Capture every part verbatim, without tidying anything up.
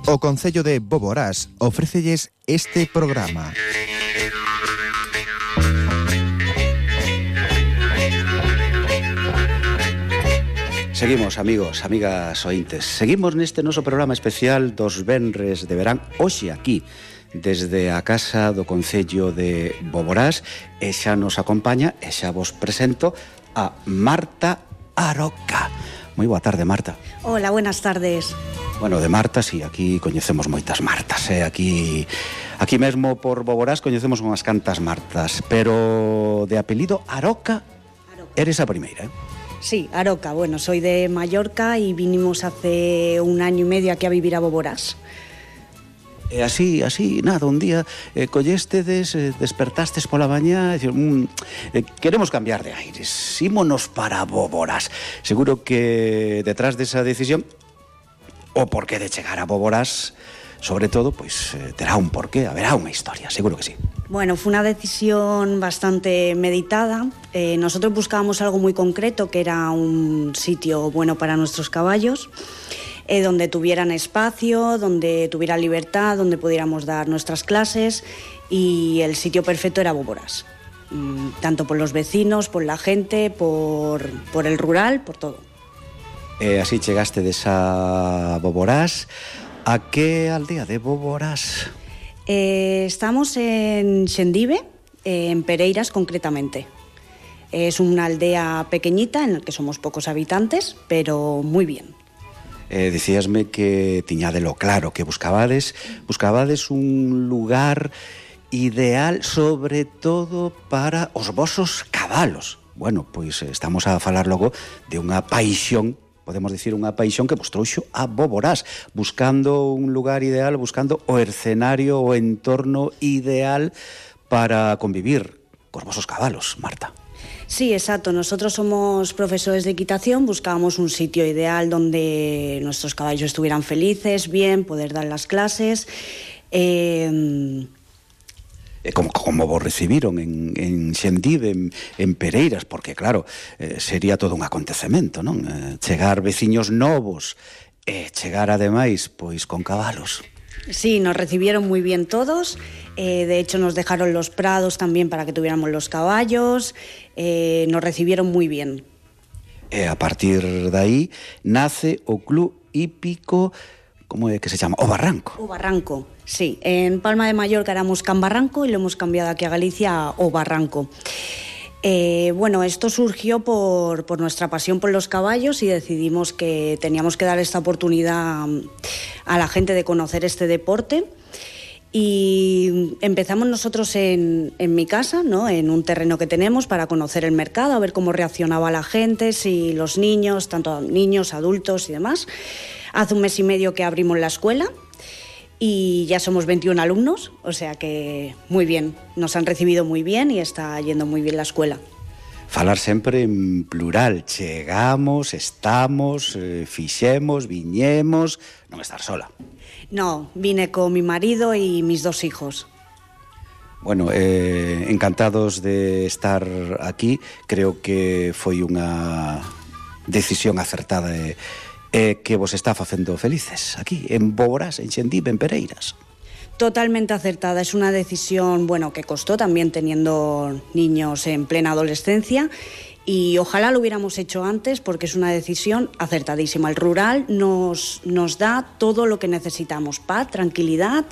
O Concello de Boborás ofrécelles este programa. Seguimos, amigos, amigas ointes. Seguimos neste noso programa especial dos venres de verán, hoxe aquí, desde a Casa do Concello de Boborás, e xa nos acompaña, e xa vos presento, a Marta Aroca. Moi boa tarde, Marta. Hola, buenas tardes. Bueno, de Marta, sí, aquí coñecemos moitas Martas, eh? aquí, aquí mesmo por Boborás coñecemos unhas cantas Martas, pero de apelido Aroca, Aroca. Eres a primeira, eh? Sí, Aroca, bueno, soy de Mallorca y vinimos hace un año y medio aquí a vivir a Boborás. E así, así, nada, un día eh, collestedes, eh, despertastes pola mañá e dicir, mmm, eh, queremos cambiar de aires, ímonos para Boborás. Seguro que detrás desa decisión, o porqué de chegar a Boborás, sobre todo, pois eh, terá un porqué, haberá unha historia, seguro que sí. Bueno, fue una decisión bastante meditada. Eh, nosotros buscábamos algo muy concreto, que era un sitio bueno para nuestros caballos, eh, donde tuvieran espacio, donde tuviera libertad, donde pudiéramos dar nuestras clases, y el sitio perfecto era Boborás. Mm, tanto por los vecinos, por la gente, por, por el rural, por todo. E así chegaste desa Boborás. A que aldea de Boborás? Eh, estamos en Xendive, eh, en Pereiras concretamente. Es una aldea pequeñita en la que somos pocos habitantes, pero muy bien. Eh, dicíasme que tiñádelo claro, que buscabades, buscabades un lugar ideal sobre todo para os vosos cabalos. Bueno, pois estamos a falar logo de unha paixón, podemos dicir unha paixón que vos trouxo a Boborás, buscando un lugar ideal, buscando o escenario, o entorno ideal para convivir cos vosos cabalos, Marta. Sí, exacto. Nosotros somos profesores de equitación, buscábamos un sitio ideal donde nuestros caballos estuvieran felices, bien, poder dar las clases. Eh... Como, como vos recibiron en, en Xendive, en, en Pereiras, porque claro, eh, sería todo un acontecemento, non? Eh, chegar veciños novos e eh, chegar ademais pois con cabalos. Sí, nos recibieron muy bien todos, eh, de hecho nos dejaron los prados también para que tuviéramos los caballos, eh, nos recibieron muy bien. E a partir de aí nace o Club Hípico, como é que se chama? O Barranco. O Barranco, sí. En Palma de Mallorca éramos Can Barranco y lo hemos cambiado aquí a Galicia a O Barranco. Eh, bueno, esto surgió por, por nuestra pasión por los caballos y decidimos que teníamos que dar esta oportunidad a la gente de conocer este deporte. Y empezamos nosotros en, en mi casa, ¿no? En un terreno que tenemos para conocer el mercado, a ver cómo reaccionaba la gente, si los niños, tanto niños, adultos y demás. Hace un mes y medio que abrimos la escuela y ya somos veintiún alumnos, o sea que muy bien, nos han recibido muy bien y está yendo muy bien la escuela. Falar sempre en plural, chegamos, estamos, eh, fixemos, viñemos, non estar sola. No, vine con mi marido y mis dos hijos. Bueno, eh, encantados de estar aquí, creo que foi unha decisión acertada e eh, que vos está facendo felices aquí, en Boborás, en Xendive, en Pereiras. Totalmente acertada, es una decisión, bueno, que costó también teniendo niños en plena adolescencia y ojalá lo hubiéramos hecho antes porque es una decisión acertadísima. El rural nos, nos da todo lo que necesitamos, paz, tranquilidad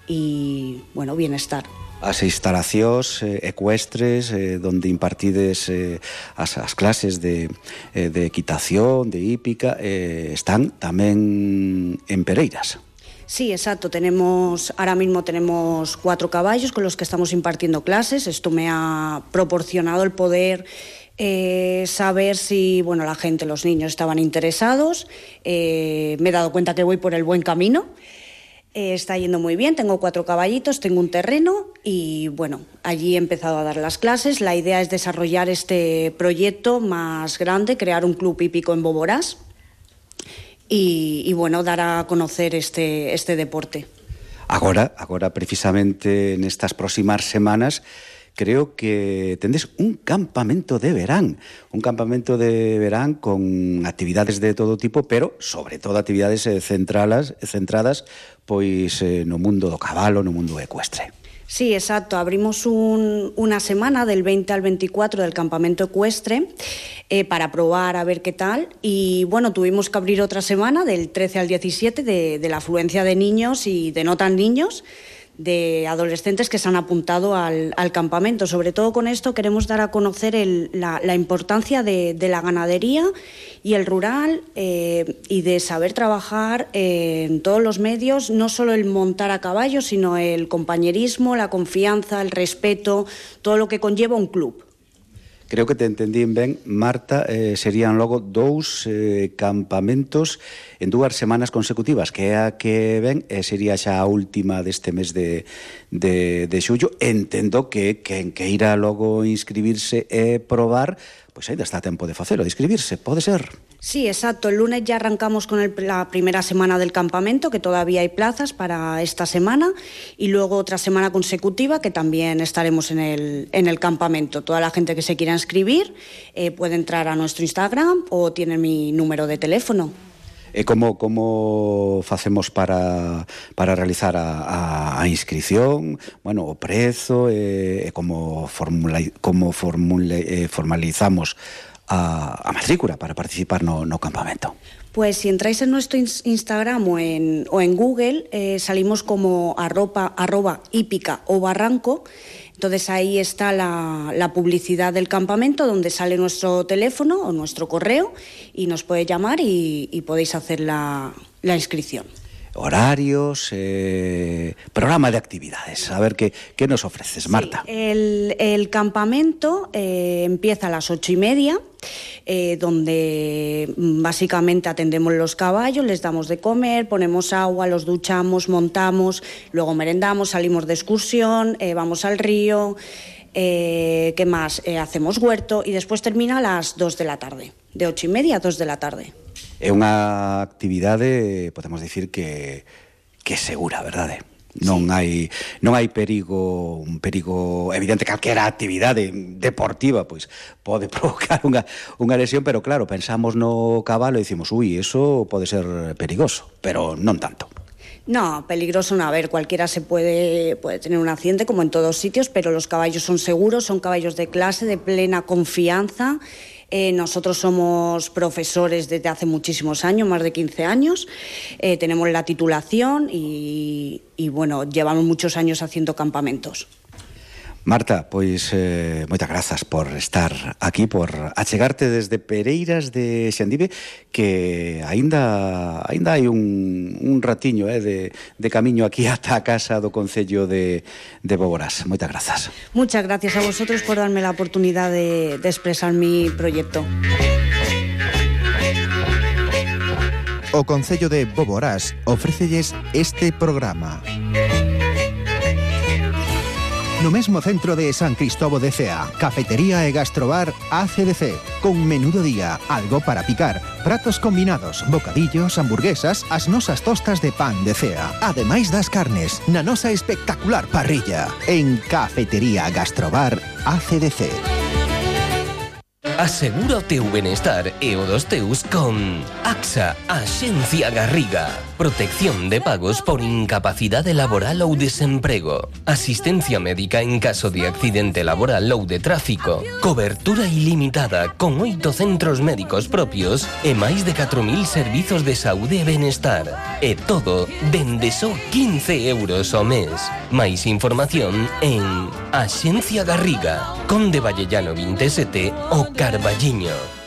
y, bueno, bienestar. As instalacións eh, ecuestres eh, donde impartides eh, as, as clases de, eh, de equitación, de hípica, eh, están tamén en Pereiras. Sí, exacto. Tenemos, ahora mismo tenemos cuatro caballos con los que estamos impartiendo clases. Esto me ha proporcionado el poder eh, saber si, bueno, la gente, los niños estaban interesados. Eh, me he dado cuenta que voy por el buen camino. Eh, está yendo muy bien, tengo cuatro caballitos, tengo un terreno y bueno, allí he empezado a dar las clases. La idea es desarrollar este proyecto más grande, crear un club hípico en Boborás y, y bueno, dar a conocer este, este deporte. Agora, agora precisamente nestas próximas semanas creo que tendes un campamento de verán, un campamento de verán con actividades de todo tipo, pero sobre todo actividades eh, centralas, centradas pois eh, no mundo do cabalo, no mundo ecuestre. Sí, exacto. Abrimos un, una semana del veinte al veinticuatro del campamento ecuestre eh, para probar a ver qué tal. Y bueno, tuvimos que abrir otra semana del trece al diecisiete de, de la afluencia de niños y de no tan niños, de adolescentes que se han apuntado al, al campamento. Sobre todo con esto queremos dar a conocer el, la, la importancia de, de la ganadería y el rural eh, y de saber trabajar eh, en todos los medios, no solo el montar a caballo, sino el compañerismo, la confianza, el respeto, todo lo que conlleva un club. Creo que te entendín ben, Marta, eh, serían logo dous eh, campamentos en dúas semanas consecutivas, que é a que ven, eh, sería xa a última deste mes de, de, de xullo. Entendo que quen que irá logo inscribirse e probar, pois ainda está a tempo de facelo, de inscribirse, pode ser? Sí, exacto. El lunes ya arrancamos con el, la primera semana del campamento, que todavía hay plazas para esta semana, y luego otra semana consecutiva que también estaremos en el, en el campamento. Toda la gente que se quiera inscribir eh, puede entrar a nuestro Instagram o tiene mi número de teléfono. E como, como facemos para, para realizar a, a, a inscripción, bueno, o prezo, e, e como, formula, como formule, eh, formalizamos a, a matrícula para participar no, no campamento? Pues si entráis en nuestro Instagram o en, o en Google, eh, salimos como arroba, arroba hípica o barranco. Entonces ahí está la, la publicidad del campamento, donde sale nuestro teléfono o nuestro correo y nos puede llamar y, y podéis hacer la, la inscripción. Horarios, eh, programa de actividades. A ver, ¿qué, qué nos ofreces, Marta? Sí, el, el campamento eh, empieza a las ocho y media, eh, donde básicamente atendemos los caballos, les damos de comer, ponemos agua, los duchamos, montamos, luego merendamos, salimos de excursión, eh, vamos al río, eh, ¿qué más? Eh, hacemos huerto y después termina a las dos de la tarde, de ocho y media a dos de la tarde. É unha actividade, podemos dicir que que é segura, verdade? Non sí. hai non hai perigo, un perigo evidente. Calquera actividade deportiva pois pode provocar unha unha lesión, pero claro, pensamos no cabalo e dicimos, ui, eso pode ser perigoso, pero non tanto. No, peligroso no. A ver, cualquiera se puede, puede tener un accidente como en todos sitios, pero los caballos son seguros, son caballos de clase, de plena confianza. Eh, nosotros somos profesores desde hace muchísimos años, más de quince años, eh, tenemos la titulación y, y bueno, llevamos muchos años haciendo campamentos. Marta, pois eh, moitas grazas por estar aquí, por achegarte desde Pereiras de Xandive, que aínda aínda hai un, un ratiño eh, de, de camiño aquí ata a casa do Concello de, de Boborás. Moitas grazas. Muchas gracias a vosotros por darme la oportunidad de, de expresar mi proyecto. O Concello de Boborás ofrécelles este programa. No mesmo centro de San Cristóbal de Cea, cafetería e gastrobar A C D C, con menú do día, algo para picar, pratos combinados, bocadillos, hamburguesas, as nosas tostas de pan de Cea, ademais das carnes, na nosa espectacular parrilla, en Cafetería Gastrobar A C D C. Asegura o teu benestar e o dos teus con AXA, Axencia Garriga. Protección de pagos por incapacidade laboral ou desemprego. Asistencia médica en caso de accidente laboral ou de tráfico. Cobertura ilimitada con oito centros médicos propios e máis de catro mil servizos de saúde e benestar. E todo dende só quince euros ao mes. Máis información en Axencia Garriga, Conde Vallellano veinte e sete, o Carballiño.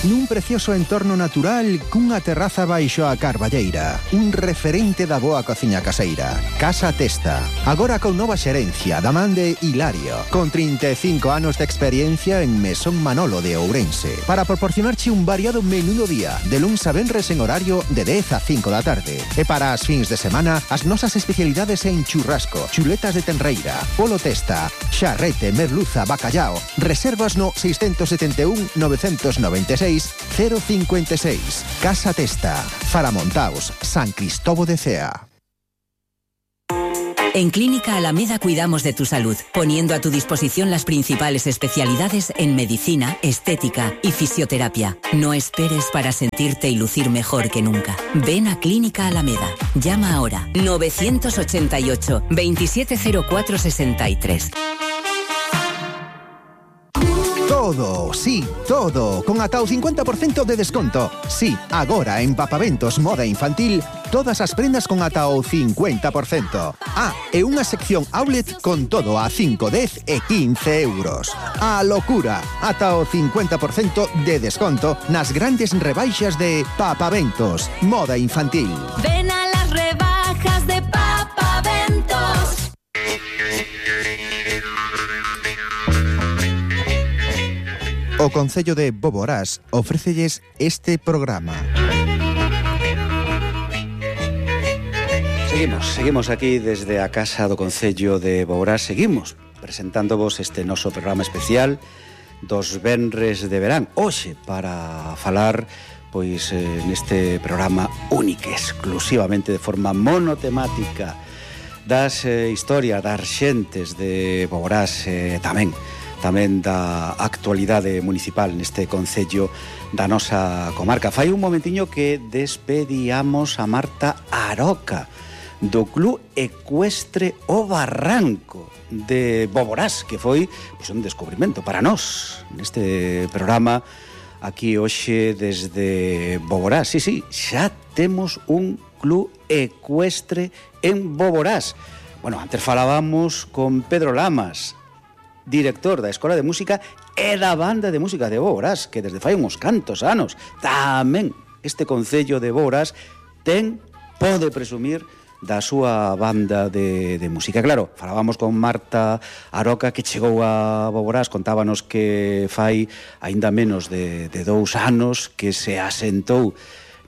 Nun precioso entorno natural cunha terraza baixo a Carballeira, un referente da boa cociña caseira. Casa Testa, agora con nova xerencia da man de Hilario, con trinta e cinco anos de experiencia en Mesón Manolo de Ourense, para proporcionarche un variado menú do día, de luns a venres en horario de dez a cinco da tarde. E para as fins de semana, as nosas especialidades en churrasco, chuletas de tenreira, polo testa, xarrete, merluza, bacallao. Reservas no seis sete un, nove nove seis, cero cinco seis. Casa Testa, Faramontaos, San Cristóbal de Cea. En Clínica Alameda cuidamos de tu salud, poniendo a tu disposición las principales especialidades en medicina, estética y fisioterapia. No esperes para sentirte y lucir mejor que nunca. Ven a Clínica Alameda. Llama ahora novecientos ochenta y ocho, veintisiete cero cuatro sesenta y tres. Todo, sí, todo, con ata o cincuenta por cento de desconto. Sí, agora en Papaventos Moda Infantil, todas as prendas con ata o cincuenta por cento. Ah, e unha sección outlet con todo a cinco, dez e quince euros. A locura, ata o cincuenta por cento de desconto nas grandes rebaixas de Papaventos Moda Infantil. Ven a las rebajas de Papaventos. O Concello de Boborás ofrécelles este programa. Seguimos, seguimos aquí desde a Casa do Concello de Boborás. Seguimos presentándovos este noso programa especial dos venres de verán. Hoxe para falar pois eh, neste programa único, exclusivamente de forma monotemática das eh, historias das xentes de Boborás, eh, tamén tamén da actualidade municipal neste concello da nosa comarca. Fai un momentiño que despedíamos a Marta Aroca do Club Ecuestre O Barranco de Boborás, que foi pois, un descubrimento para nós neste programa aquí hoxe desde Boborás. Sí, sí, xa temos un Club Ecuestre en Boborás. Bueno, antes falábamos con Pedro Lamas, director da Escola de Música e da Banda de Música de Boborás, que desde fai uns cantos anos tamén este concello de Boborás ten, pode presumir da súa banda de, de música. Claro, falábamos con Marta Aroca, que chegou a Boborás, contábanos que fai aínda menos de, de dous anos que se asentou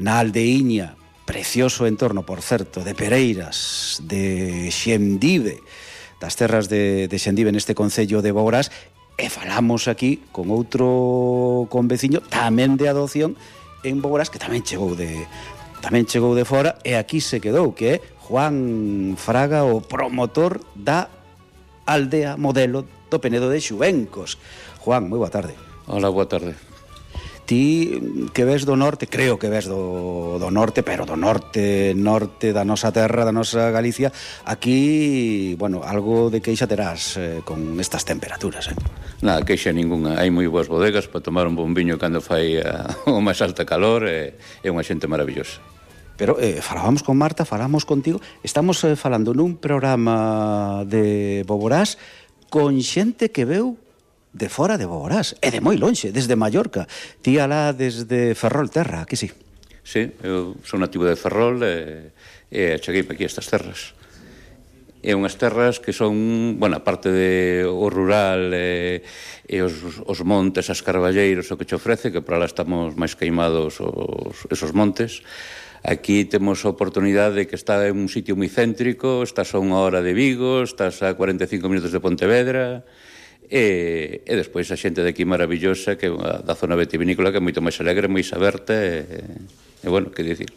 na aldeiña, precioso entorno, por certo, de Pereiras, de Xendive, das terras de, de Xendive neste concello de Boborás, e falamos aquí con outro conveciño tamén de adopción en Boborás, que tamén chegou de tamén chegou de fora e aquí se quedou, que é Juan Fraga, o promotor da aldea modelo do Penedo de Xubencos. Juan, moi boa tarde. Hola, boa tarde. Ti que ves do norte, creo que ves do, do norte, pero do norte, norte da nosa terra, da nosa Galicia, aquí, bueno, algo de queixa terás eh, con estas temperaturas, eh? Nada, queixa ninguna. Hai moi boas bodegas para tomar un bombiño cando fai a, o máis alta calor, e é unha xente maravillosa. Pero eh, falábamos con Marta, falamos contigo, estamos eh, falando nun programa de Boborás con xente que veu de fora de Boborás, e de moi lonxe, desde Mallorca. Ti alá desde Ferrol Terra, aquí sí. Sí, eu son nativo de Ferrol e, e cheguei aquí a estas terras. E unhas terras que son, bueno, aparte de o rural e, e os, os montes, as carballeiros, o que che ofrece, que para lá estamos máis queimados os, esos montes. Aquí temos a oportunidade de que está en un sitio moi céntrico, estás a unha hora de Vigo, estás a cuarenta e cinco minutos de Pontevedra. E, e despois a xente de aquí maravillosa, que é da zona vitivinícola, que é moito máis alegre, moi aberta e, e bueno, que dicir.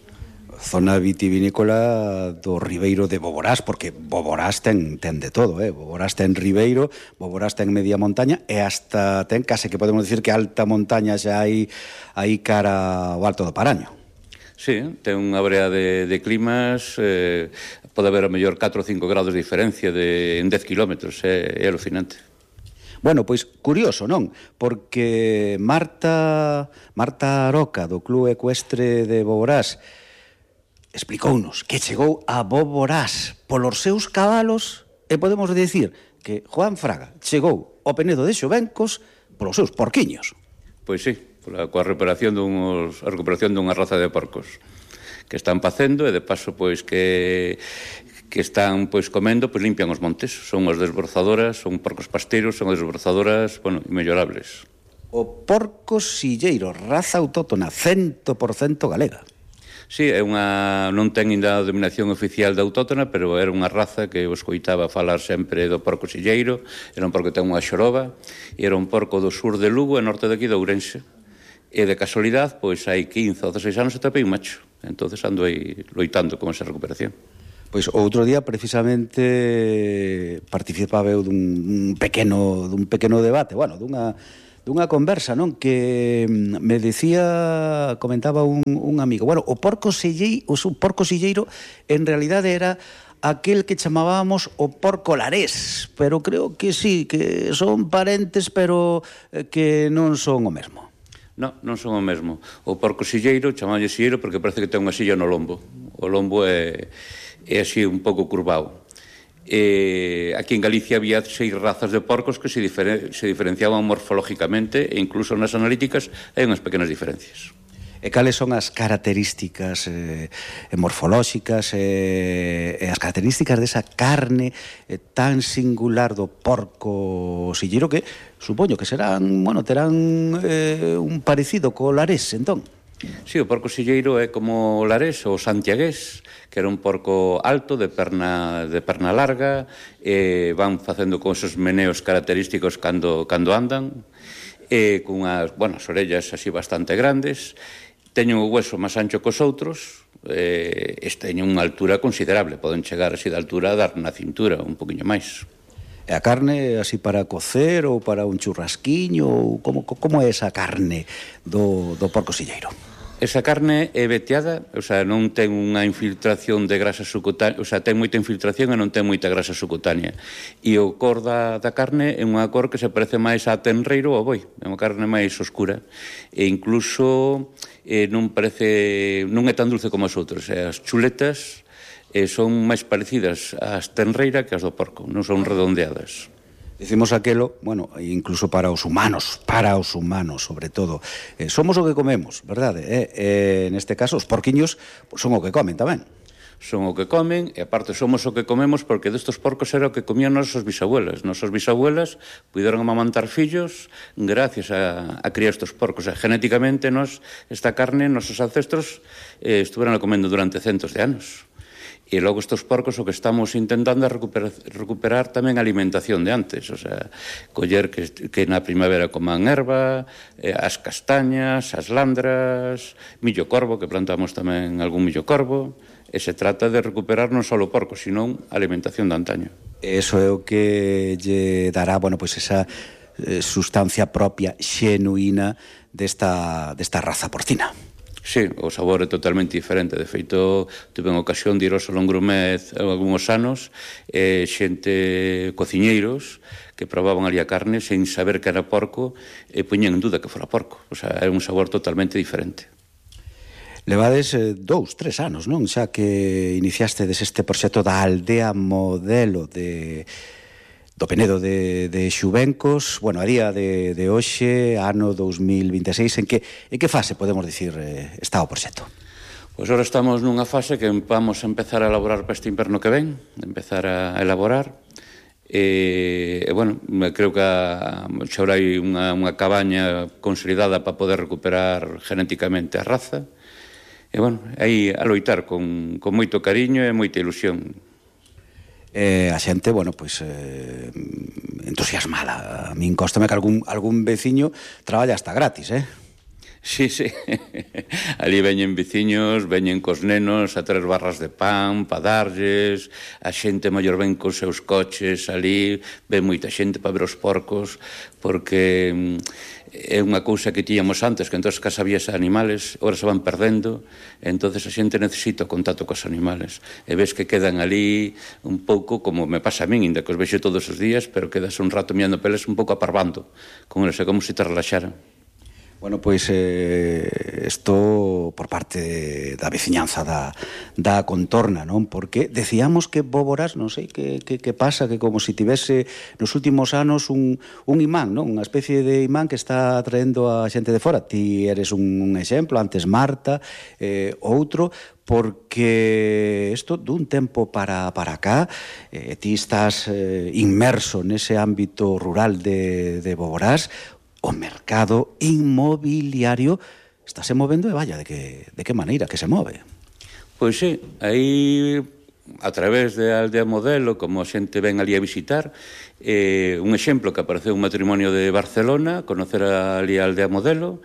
Zona vitivinícola do Ribeiro de Boborás, porque Boborás ten, ten de todo, eh? Boborás ten Ribeiro, Boborás ten media montaña e hasta ten case que podemos dicir que alta montaña xa hai aí cara ao Alto do Paraño. Sí, ten unha brea de, de climas, eh, pode haber a mellor catro ou cinco grados de diferencia de, en dez kilómetros, é, é alucinante. Bueno, pois curioso, non? Porque Marta Marta Aroca, do Club Ecuestre de Boborás, explicounos que chegou a Boborás polos seus cabalos, e podemos dicir que Juan Fraga chegou ao Penedo de Xubencos polos seus porquiños. Pois sí, pola, coa recuperación dunhos, a recuperación dunha raza de porcos que están facendo, e de paso pois que que están pois comendo, pois limpian os montes. Son as desbrozadoras, son porcos pasteiros, son as desbrozadoras, bueno, inmellorables. O porco silleiro, raza autóctona, cento por cento galega. Sí, é unha, non ten ainda a denominación oficial de autóctona, pero era unha raza que eu escoitaba falar sempre do porco silleiro. Era un porco que ten unha xoroba, e era un porco do sur de Lugo e norte daqui de Ourense. E de casualidade, pois hai quince ou dezasseis anos atopei un macho. Entonces ando aí loitando con esa recuperación. Pois outro día precisamente participaba eu dun pequeno dun pequeno debate, bueno, dunha dunha conversa, non, que me decía, comentaba un, un amigo, bueno, o porco silleiro, o porco silleiro en realidade era aquel que chamábamos o porco larés, pero creo que sí, que son parentes, pero que non son o mesmo. Non, non son o mesmo. O porco silleiro, chamalle silleiro porque parece que ten unha silla no lombo. O lombo é, é así un pouco curvado. Eh, aquí en Galicia había seis razas de porcos que se, diferen, se diferenciaban morfológicamente e incluso nas analíticas hai unhas pequenas diferencias. E cales son as características eh, morfolóxicas eh, e as características desa carne eh, tan singular do porco silleiro que supoño que serán, bueno, terán eh, un parecido co larés, entón? Sí, o porco silleiro é como o larés ou santiagués, que era un porco alto, de perna, de perna larga, e van facendo con esos meneos característicos cando, cando andan, e con unhas, bueno, as orellas así bastante grandes, teñen o hueso máis ancho cos outros, e teñen unha altura considerable, poden chegar así de altura a dar na cintura, un poquinho máis. E a carne así para cocer ou para un churrasquiño, ou como, como é esa carne do, do porco silleiro? Esa carne é veteada, o sea, non ten unha infiltración de grasa subcutánea, o sea, ten moita infiltración e non ten moita grasa subcutánea. E o cor da, da carne é unha cor que se parece máis a tenreiro ou a boi, é unha carne máis oscura. E incluso eh, non parece, non é tan dulce como as outras. E as chuletas eh, son máis parecidas ás tenreira que as do porco, non son redondeadas. Dicimos aquelo, bueno, incluso para os humanos, para os humanos, sobre todo. Eh, somos o que comemos, verdade? Eh, eh, neste caso, os porquiños pues, son o que comen tamén. Son o que comen, e aparte somos o que comemos porque destos porcos era o que comían nosas bisabuelas. Nosas bisabuelas puderon amamantar fillos gracias a, a criar estos porcos. O sea, genéticamente, nos, esta carne, nosos ancestros eh, estuveron comendo durante centos de anos. E logo estes porcos o que estamos intentando é recuperar, recuperar tamén a alimentación de antes, o sea, coller que, que na primavera coman erva, eh, as castañas, as landras, millo corvo, que plantamos tamén algún millo corvo, e se trata de recuperar non só o porco, sino a alimentación de antaño. Eso é o que lle dará, bueno, pois esa eh, sustancia propia, xenuína desta, desta raza porcina. Sí, o sabor é totalmente diferente. De feito, tuve unha ocasión de ir ao Salón Grumet algúns anos, e xente cociñeiros que probaban ali a carne sen saber que era porco e poñían en duda que fora porco. O sea, era un sabor totalmente diferente. Levades eh, dous, tres anos, non? Xa que iniciaste des este proxecto da aldea modelo de... do Penedo de, de Xubencos, bueno, a día de, de hoxe, ano dous mil vinte e seis, en que, en que fase, podemos dicir, eh, está o proxecto? Pois agora estamos nunha fase que vamos a empezar a elaborar para este inverno que ven, empezar a elaborar, e, e bueno, creo que a, xa ahora hai unha, unha cabaña consolidada para poder recuperar genéticamente a raza, e bueno, aí a loitar con, con moito cariño e moita ilusión. Eh, a xente, bueno, pois eh, entusiasmada. A min cóstame que algún, algún veciño traballa hasta gratis, eh? Sí, sí. Ali veñen veciños, veñen cos nenos a traer barras de pan, pa darlles, a xente maior ven cos seus coches ali, ven moita xente para ver os porcos, porque é unha cousa que tíamos antes, que en todas as casas había animales, agora se van perdendo, e entonces a xente necesita o contacto cos animales. E ves que quedan ali un pouco, como me pasa a min, ainda que os vexo todos os días, pero quedas un rato mirando peles un pouco aparvando, con eles, é como se te relaxaran. Bueno, pois eh, isto por parte da veciñanza da, da contorna, non? Porque decíamos que Boborás, non sei que, que, que pasa, que como se si tivese nos últimos anos un, un imán, non? Unha especie de imán que está atraendo a xente de fora. Ti eres un, un exemplo, antes Marta, eh, outro, porque isto dun tempo para, para cá, eh, ti estás eh, inmerso nese ámbito rural de, de Boborás. O mercado inmobiliario estáse movendo e vaya, de que, de que maneira que se move? Pois sí, aí a través de Aldea Modelo, como a xente ven ali a visitar, eh, un exemplo que apareceu un matrimonio de Barcelona, conocer ali a Aldea Modelo,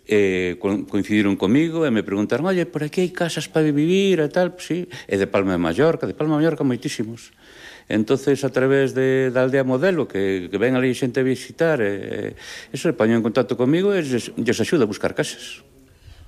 eh, coincidiron comigo e me preguntaron, oye, por aquí hai casas para vivir e tal, pues, sí, e de Palma de Mallorca, de Palma de Mallorca moitísimos. Entonces, a través de, da aldea modelo, que, que ven ali xente a visitar, e, eso, se poñen en contacto comigo e lles, lles axuda a buscar casas.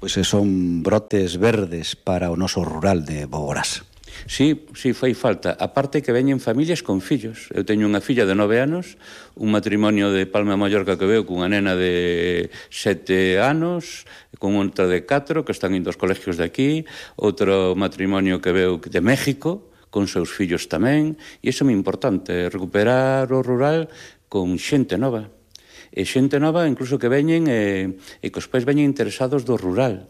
Pois son brotes verdes para o noso rural de Boborás. Sí, sí, fai falta. A parte que veñen familias con fillos. Eu teño unha filla de nove anos, un matrimonio de Palma de Mallorca que veo cunha nena de sete anos, con outra de catro, que están indo aos colegios de aquí, outro matrimonio que veo de México, con seus fillos tamén, e iso é moi importante, recuperar o rural con xente nova. E xente nova, incluso que veñen e, e que os pais veñen interesados do rural.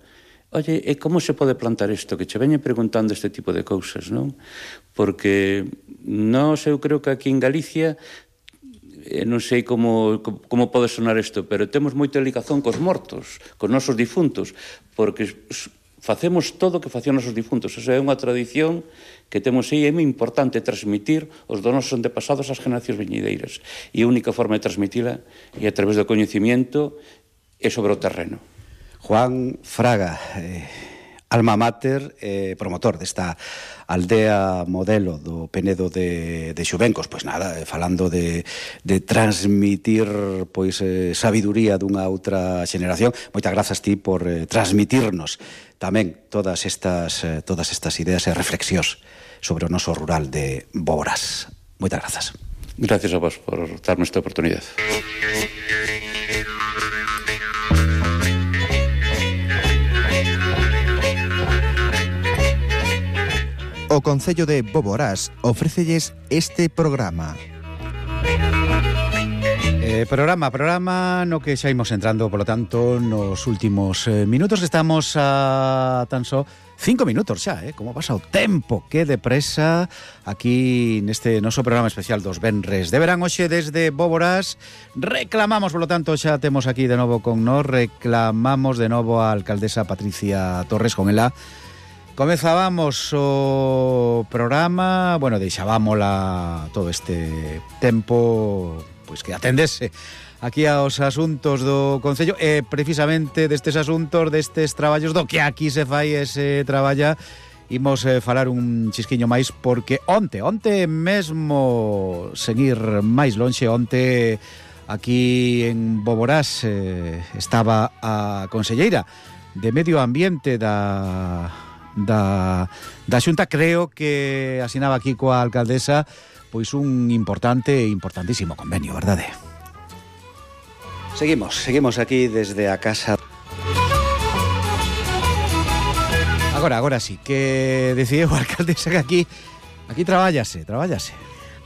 Oye, e como se pode plantar isto? Que che veñen preguntando este tipo de cousas, non? Porque nós, eu creo que aquí en Galicia, eh, non sei como, como pode sonar isto, pero temos moita ligazón cos mortos, cos nosos difuntos, porque facemos todo o que facían os nosos difuntos. Esa é unha tradición que temos aí, é moi importante transmitir os dos nosos antepasados ás generacións veñideiras. E a única forma de transmitila é a través do coñecimiento e sobre o terreno. Juan Fraga, eh, alma mater, eh, promotor desta aldea modelo do Penedo de, de Xubencos. Pois nada, eh, falando de, de transmitir pois eh, sabiduría dunha outra xeneración. Moitas grazas ti por eh, transmitirnos tamén todas estas, eh, todas estas ideas e reflexións sobre o noso rural de Boborás. Moitas grazas. Gracias a vos por darme esta oportunidade. O Concello de Boborás ofrécelles este programa. Eh, programa, programa no que xa imos entrando, polo tanto, nos últimos eh, minutos. Estamos a tan só cinco minutos xa, eh? Como pasa o tempo, que depresa aquí neste noso programa especial dos venres de verán. Hoxe desde Boborás reclamamos, polo tanto, xa temos aquí de novo con nós, reclamamos de novo a alcaldesa Patricia Torres. Con ela comezábamos o programa, bueno, deixábamola todo este tempo pois que atendese aquí aos asuntos do Concello e precisamente destes asuntos, destes traballos do que aquí se fai e se traballa, imos eh, falar un chisquiño máis porque onte, onte mesmo sen ir máis lonxe, onte aquí en Boborás eh, estaba a conselleira de Medio Ambiente da da, da Xunta, creo que asinaba aquí coa alcaldesa pois un importante e importantísimo convenio, verdade? Seguimos, seguimos aquí desde a casa. Agora, agora sí, que decidiu a alcaldesa que aquí aquí trabállase, trabállase.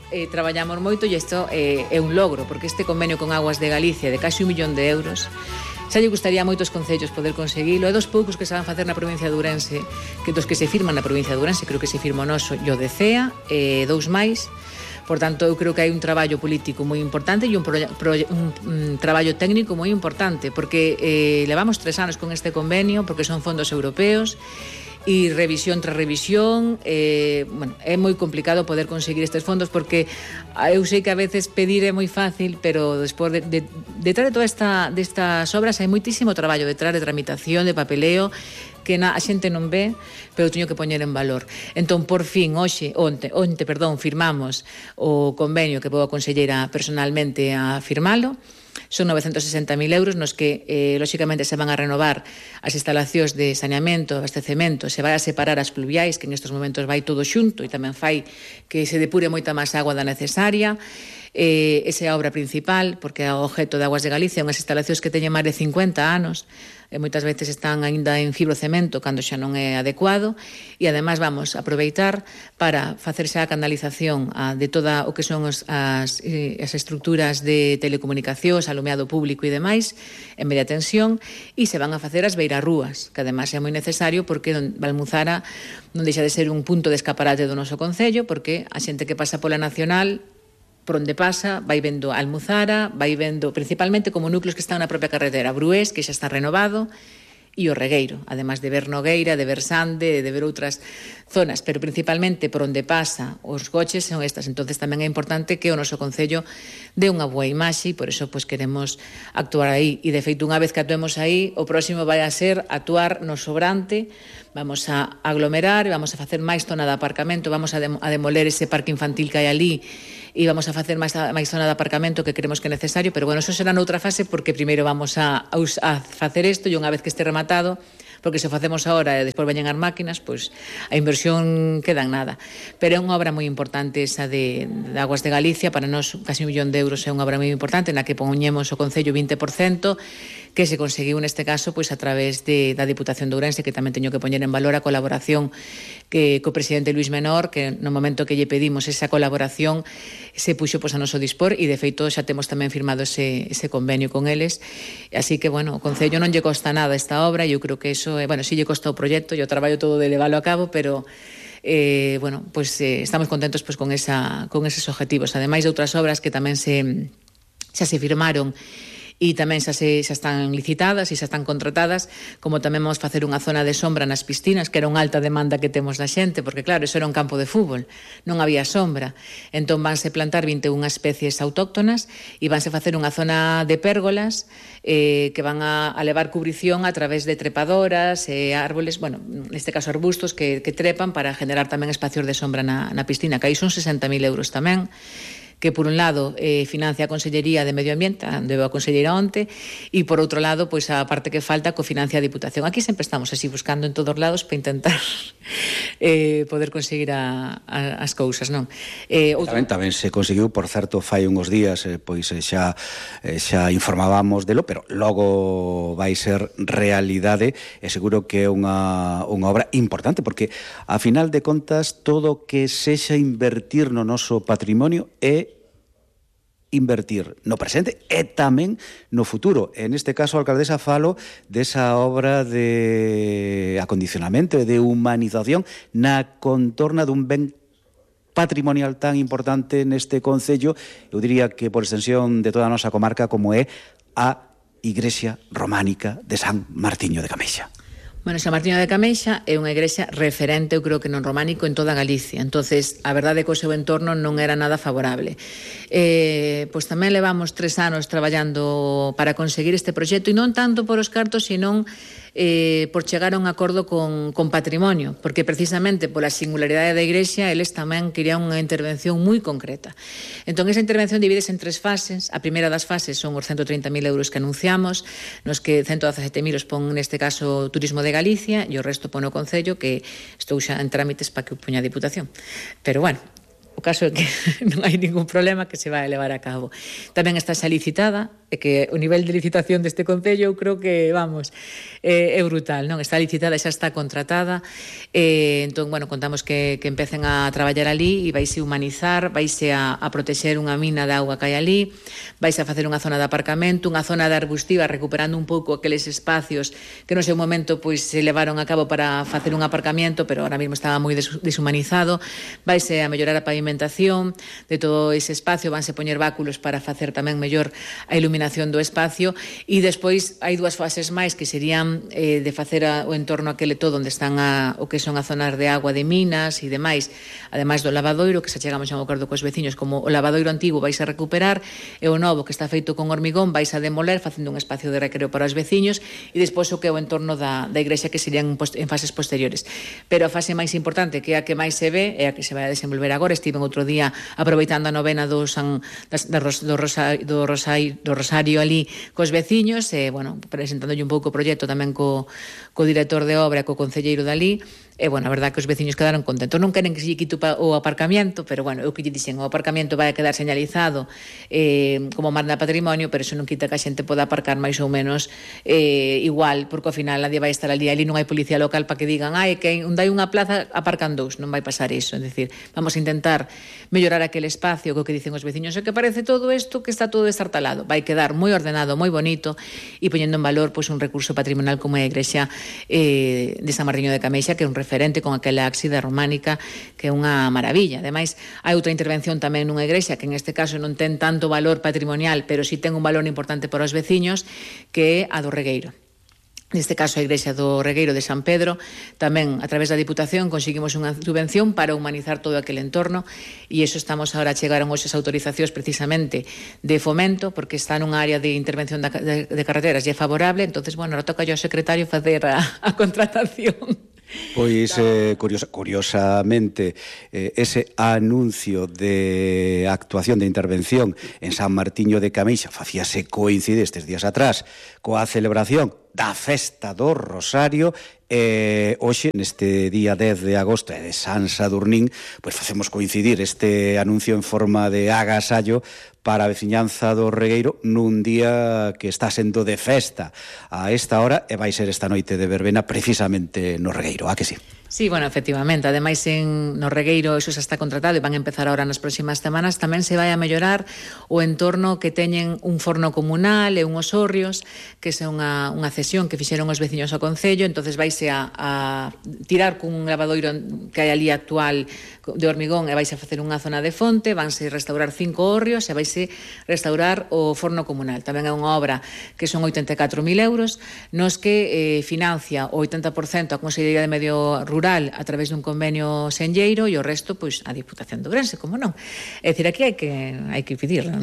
Eh, traballamos moito e isto eh, é un logro, porque este convenio con Aguas de Galicia de casi un millón de euros xa lle gustaría a moitos concellos poder conseguilo. É dos poucos que se van facer na provincia de Ourense, que dos que se firman na provincia de Ourense, creo que se firma o noso e o de Cea, eh, dous máis. Por tanto, eu creo que hai un traballo político moi importante e un, pro, pro, un, un traballo técnico moi importante, porque eh, levamos tres anos con este convenio, porque son fondos europeos, e revisión tras revisión, eh, bueno, é moi complicado poder conseguir estes fondos, porque eu sei que a veces pedir é moi fácil, pero despois de, de, detrás de toda esta destas obras hai moitísimo traballo detrás de tramitación, de papeleo, que na, a xente non ve, pero teño que poñer en valor. Entón, por fin, hoxe, onte, onte, perdón, firmamos o convenio que vou a conselleira personalmente a firmalo. Son novecentos sesenta mil euros nos que, eh, lóxicamente, se van a renovar as instalacións de saneamento, abastecemento, se vai a separar as pluviais, que en estes momentos vai todo xunto e tamén fai que se depure moita máis agua da necesaria. Eh, esa é a obra principal, porque o objeto de Aguas de Galicia, unhas instalacións que teñen máis de cincuenta anos, e moitas veces están aínda en fibrocemento cando xa non é adecuado, e ademais vamos a aproveitar para facer xa a canalización a, de toda o que son os, as, as estructuras de telecomunicacións, alumeado público e demais, en media tensión, e se van a facer as beirarrúas, que ademais é moi necesario porque Valmuzara non deixa de ser un punto de escaparate do noso concello, porque a xente que pasa pola Nacional, por onde pasa, vai vendo Almuzara, vai vendo principalmente como núcleos que están na propia carretera, Brués, que xa está renovado, e o regueiro, además de ver Nogueira, de ver Sande, de ver outras zonas, pero principalmente por onde pasa os coches son estas. Entonces tamén é importante que o noso Concello dé unha boa imaxe e por eso pues, queremos actuar aí. E de feito, unha vez que actuemos aí, o próximo vai a ser actuar no sobrante, vamos a aglomerar, vamos a facer máis zona de aparcamento, vamos a, dem- a demoler ese parque infantil que hai ali e vamos a facer máis, máis zona de aparcamento que creemos que é necesario, pero bueno, eso será noutra fase porque primeiro vamos a, a, a facer isto e unha vez que este rematado, porque se o facemos agora e despois veñen as máquinas, pois a inversión queda en nada. Pero é unha obra moi importante esa de, de Aguas de Galicia, para nós casi un millón de euros é unha obra moi importante na que poñemos o Concello vinte por cento, que se conseguiu neste caso pois a través de, da Diputación de Ourense, que tamén teño que poñer en valor a colaboración que co presidente Luis Menor, que no momento que lle pedimos esa colaboración se puxo pois a noso dispor e de feito xa temos tamén firmado ese, ese convenio con eles, así que bueno, o Concello non lle costa nada esta obra e eu creo que eso, eh, bueno, si lle costa o proxecto e o traballo todo de leválo a cabo, pero eh, bueno, pues eh, estamos contentos pues, con, esa, con eses objetivos, ademais de outras obras que tamén se, xa se firmaron e tamén xa, se, xa están licitadas e xa están contratadas, como tamén vamos facer unha zona de sombra nas piscinas, que era unha alta demanda que temos da xente, porque claro, eso era un campo de fútbol, non había sombra. Entón vanse plantar vinte e unha especies autóctonas e vanse facer unha zona de pérgolas eh, que van a, a levar cubrición a través de trepadoras, eh, árboles, bueno, neste caso arbustos que, que trepan para generar tamén espacios de sombra na, na piscina, que aí son sesenta mil euros tamén, que por un lado eh, financia a Consellería de Medio Ambiente, debe a Conselleira onte, e por outro lado, pois a parte que falta cofinancia a Diputación. Aquí sempre estamos así buscando en todos lados para intentar eh, poder conseguir a, a, as cousas, non? Eh, outro... tamén, tamén se conseguiu, por certo, fai uns días, eh, pois eh, xa, eh, xa informábamos delo, pero logo vai ser realidade, e seguro que é unha, unha obra importante, porque a final de contas todo que sexa invertir no noso patrimonio é invertir no presente e tamén no futuro. En este caso, a alcaldesa falo desa obra de acondicionamento e de humanización na contorna dun ben patrimonial tan importante neste concello, eu diría que por extensión de toda a nosa comarca, como é a Igrexa Románica de San Martiño de Cameixa. Bueno, San Martiño de Cameixa é unha igrexa referente, eu creo que non románico, en toda Galicia. Entonces, a verdade é que o seu entorno non era nada favorable. Eh, pois tamén levamos tres anos traballando para conseguir este proxecto, e non tanto por os cartos, senón eh, por chegar a un acordo con, con patrimonio, porque precisamente pola singularidade da igrexa, eles tamén querían unha intervención moi concreta. Entón, esa intervención divídese en tres fases. A primeira das fases son os ciento trinta mil euros que anunciamos, nos que ciento dezasete mil os pon, neste caso, Turismo de Galicia, e o resto pone o Concello, que estou xa en trámites para que o poña a Diputación. Pero, bueno, o caso é que non hai ningún problema, que se vai a levar a cabo. Tamén está xa licitada, e que o nivel de licitación deste Concello eu creo que, vamos, é, é brutal, non? Está licitada e xa está contratada, e, entón, bueno, contamos que, que empecen a traballar ali e vaise humanizar, vaise a, a protexer unha mina de auga que hai ali, vaise a facer unha zona de aparcamento, unha zona de arbustiva, recuperando un pouco aqueles espacios que no seu momento pois se levaron a cabo para facer un aparcamiento, pero ahora mesmo estaba moi deshumanizado. Vaise a mellorar a pavimentación de todo ese espacio, vanse poñer báculos para facer tamén mellor a iluminación do espacio, e despois hai dúas fases máis que serían eh, de facer a, o entorno aquele todo onde están a, o que son as zonas de agua de minas e demais, ademais do lavadoiro, que xa chegamos a un acordo cos veciños, como o lavadoiro antigo vais a recuperar e o novo que está feito con hormigón vais a demoler, facendo un espacio de recreo para os veciños, e despois o que é o entorno da, da igrexa, que serían en fases posteriores. Pero a fase máis importante, que é a que máis se ve, é a que se vai a desenvolver agora. Estiven outro día aproveitando a novena do, San, das, da, do, Rosa, do, Rosa, do Rosario ali cos veciños, e, bueno, presentándolle un pouco o proxecto tamén co, co director de obra, co concelleiro dali, e, bueno, a verdade que os veciños quedaron contentos. Non queren que se lle quite o aparcamiento, pero, bueno, eu que lle dixen, o aparcamiento vai a quedar señalizado eh, como manda patrimonio, pero eso non quita que a xente poda aparcar máis ou menos eh, igual, porque ao final nadie vai estar ali, ali non hai policía local para que digan, ai, que onde hai unha plaza aparcan dous, non vai pasar iso. É dicir, vamos a intentar mellorar aquele espacio, co que dicen os veciños, e que parece todo isto que está todo destartalado. Vai quedar moi ordenado, moi bonito, e poñendo en valor pois, un recurso patrimonial como é a igrexa eh, de San Martiño de Cameixa, que é un referente con aquela ábside románica, que é unha maravilla. Ademais, hai outra intervención tamén nunha igrexa que en este caso non ten tanto valor patrimonial, pero sí ten un valor importante para os veciños, que é a do regueiro. neste caso a Igrexa do Regueiro de San Pedro, tamén a través da Diputación conseguimos unha subvención para humanizar todo aquel entorno, e iso estamos agora, chegaron hoxe as autorizacións precisamente de fomento, porque está nunha área de intervención de, de, de carreteras e é favorable, entonces, bueno, ahora toca yo ao secretario facer a, a contratación. Pois, eh, curiosa, curiosamente, eh, ese anuncio de actuación de intervención en San Martiño de Cameixa facíase coincidir estes días atrás coa celebración da Festa do Rosario. E hoxe, neste día dez de agosto e de San Sadurnín, pois facemos coincidir este anuncio en forma de agasallo para a veciñanza do Regueiro nun día que está sendo de festa a esta hora, e vai ser esta noite de verbena precisamente no Regueiro, a que sí? Sí, bueno, efectivamente, ademais en no Regueiro eso xa está contratado e van a empezar ahora nas próximas semanas. Tamén se vai a mellorar o entorno, que teñen un forno comunal e unhos hórreos, que é unha, unha cesión que fixeron os veciños ao Concello, entonces vaise a, a tirar cun lavadoiro que hai ali actual de hormigón e vaise a facer unha zona de fonte, vanse restaurar cinco hórreos e vaise restaurar o forno comunal. Tamén é unha obra que son oitenta e catro mil euros, nos que eh, financia o oitenta por cento a Consellería de Medio Rural a través dun convenio senlleiro e o resto, pois, a Diputación de Ourense, como non. É dicir, aquí hai que hai que pedirlo.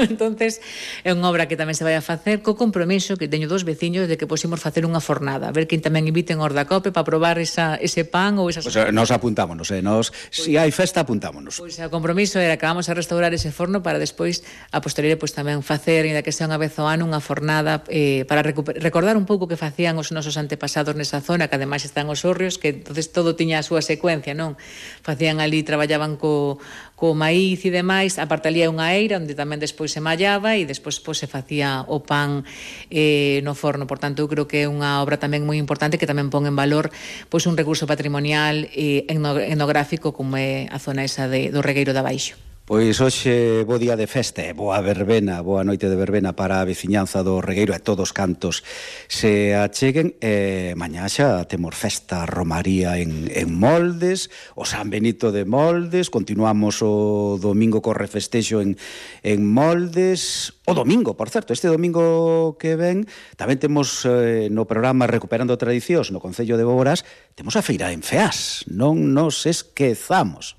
Entonces, é unha obra que tamén se vai a facer co compromiso que teño dos veciños de que posimos facer unha fornada, a ver quen tamén inviten os da COPE para probar esa, ese pan ou esas... Pois pues, nos apuntámonos, eh? Nos, pois, si hai festa, apuntámonos. Pois o compromiso era que vamos a restaurar ese forno para despois, a posteriori, pois tamén facer, ainda que sea unha vez ao ano, unha fornada eh, para recordar un pouco que facían os nosos antepasados nesa zona, que ademais están os hórreos, que entonces todo tiña a súa secuencia, non? Facían ali, traballaban co, co maíz e demais, aparte ali é unha eira onde tamén despois se mallaba e despois pois, se facía o pan eh, no forno. Por tanto, eu creo que é unha obra tamén moi importante que tamén pon en valor pois un recurso patrimonial e etnográfico como é a zona esa de, do Regueiro de Abaixo. Pois hoxe bo día de festa e boa verbena, boa noite de verbena para a veciñanza do Regueiro e todos cantos se acheguen. E mañá xa temos festa romaría en, en Moldes, o San Benito de Moldes, continuamos o domingo co refestexo en, en Moldes. O domingo, por certo, este domingo que ven tamén temos eh, no programa Recuperando Tradicións no Concello de Boborás, temos a feira en Feás, non nos esquezamos.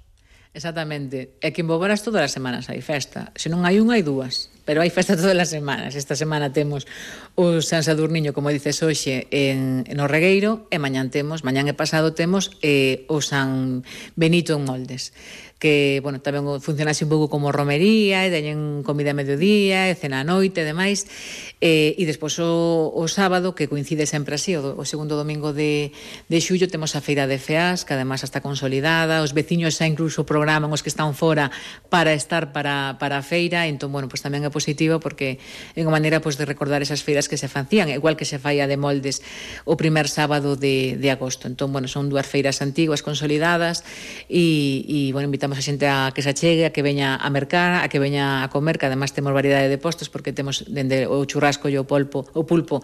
Exactamente. É que en Boborás todas as semanas hai festa. Se non hai unha, hai dúas. Pero hai festa todas as semanas. Esta semana temos o San Sadurniño, como dices hoxe, en, en o Regueiro, e mañán temos, mañán e pasado temos eh, o San Benito en Moldes, que, bueno, tamén funcionase un pouco como romería, e teñen comida a mediodía, e cena a noite, e demais, e, e despois o, o sábado, que coincide sempre así, o, o segundo domingo de, de xullo, temos a feira de Feás, que además está consolidada, os veciños xa incluso programan os que están fora para estar para, para a feira, entón, bueno, pues tamén é positivo, porque é unha maneira pues, de recordar esas feiras que se facían, igual que se fai a de Moldes o primer sábado de, de agosto. Entón, bueno, son dúas feiras antiguas, consolidadas, e, e bueno, invitamos a xente a que se achegue, a que veña a mercar, a que veña a comer, que además temos variedade de postos, porque temos dende o churrasco e o pulpo, o pulpo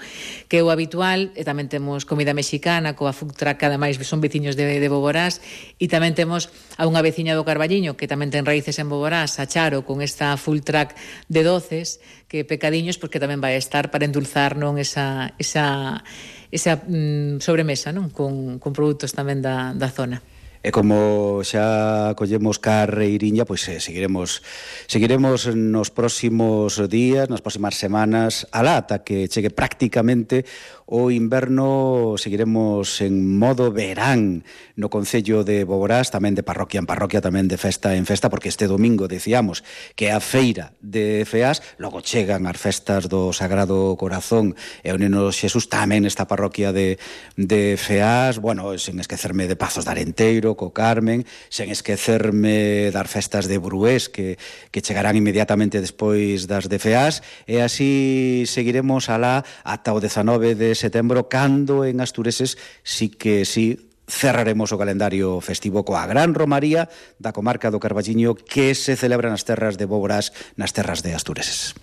que é o habitual, e tamén temos comida mexicana coa food truck, que ademais son veciños de, de Boborás, e tamén temos a unha veciña do Carballiño que tamén ten raíces en Boborás, a Charo, con esta full truck de doces, que pecadiños, porque tamén vai estar para endulzar, non, esa, esa, esa mm, sobremesa, non, con, con produtos tamén da, da zona. E como xa collemos carreiriña, pois eh, seguiremos seguiremos nos próximos días, nas próximas semanas, alá ata que chegue prácticamente o inverno. Seguiremos en modo verán no Concello de Boborás, tamén de parroquia en parroquia, tamén de festa en festa, porque este domingo decíamos que a feira de Feás, logo chegan as festas do Sagrado Corazón e o Neno Xesús tamén nesta parroquia de, de Feás, bueno, sen esquecerme de Pazos de Arenteiro, co Carmen, sen esquecerme das festas de Brués que, que chegarán inmediatamente despois das de Feás, e así seguiremos alá ata o dezanove de setembro, cando en Astureses sí que sí cerraremos o calendario festivo coa gran romaría da comarca do Carballiño que se celebra nas terras de Boborás, nas terras de Astureses.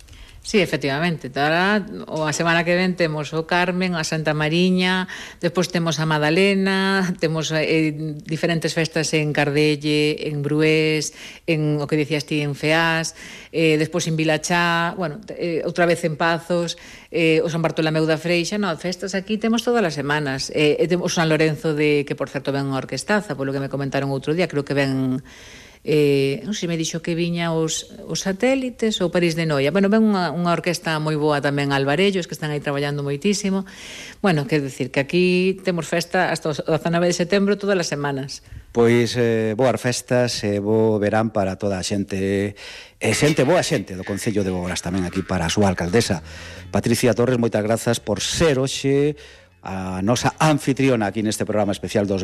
Sí, efectivamente. Ahora, o a semana que ven temos o Carmen, a Santa Mariña, despois temos a Madalena, temos eh, diferentes festas en Cardelle, en Brués, en o que dicías ti en Feás, eh, despois en Vilachá, bueno, eh, outra vez en Pazos, eh, o San Bartolomeu da Freixa, no, festas aquí temos todas as semanas. Eh, e temos o San Lorenzo de, que por certo ven unha orquestaza, polo que me comentaron outro día, creo que ven... Eh, non sei, me dixo que viña os, os satélites ou París de Noia. Bueno, ven unha, unha orquesta moi boa tamén, Alvarellos, que están aí traballando moitísimo. Bueno, quer decir que aquí temos festa hasta o dezanove de setembro todas as semanas. Pois eh, boas festas e bo verán para toda a xente, e xente, boa xente do Concello de Boborás tamén aquí para a súa alcaldesa Patricia Torres. Moitas grazas por ser hoxe a nosa anfitriona aquí neste programa especial dos